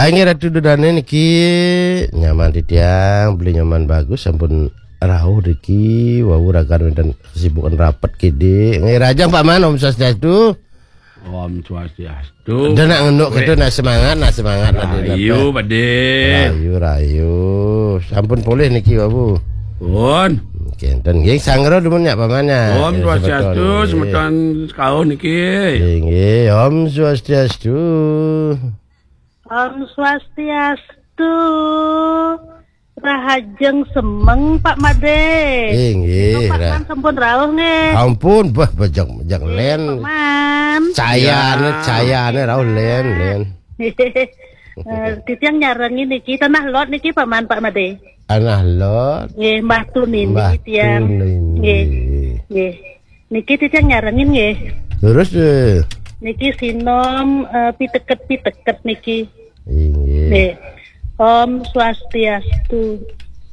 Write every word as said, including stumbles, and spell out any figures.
Inggih Ratu Dudane niki nyaman titiang, beli nyaman bagus, sampun rauh niki, wau ragan wenten kesibukan rapet kidi. Nggih, rahajeng Paman, Om Swastiastu. Om Swastiastu. Dah nak ngenduk gitu, nak semangat, nak semangat, nak Rahayu, Pade. Rahayu, rahayu. Sampun polih niki, Babu. Pun. Kenten nggih, sanggra dumun nyak Paman ya. Om Swastiastu, semeton sekauh niki. Nggih, Om Swastiastu. Om Swastiastu. Rahajeng semeng, Pak Made. Nggih, nggih. Pak Man sampun rauh nggih. Ampun, bah, bejak, bejak len. Pak Man. Cayane, ya, cayane rauh len, len. Eh, titiang nyarengin niki Tanah Lot niki, Pak Man, Pak Made. Tanah Lot. Nggih, Mbah Tunini. Mbah tiang. Tunini. Nggih. Nggih. Niki titiang nyarengin nggih. Terus, eh. Niki sinom, eh, piteket-piteket niki. Inggih. Nggih. Om Swastiastu.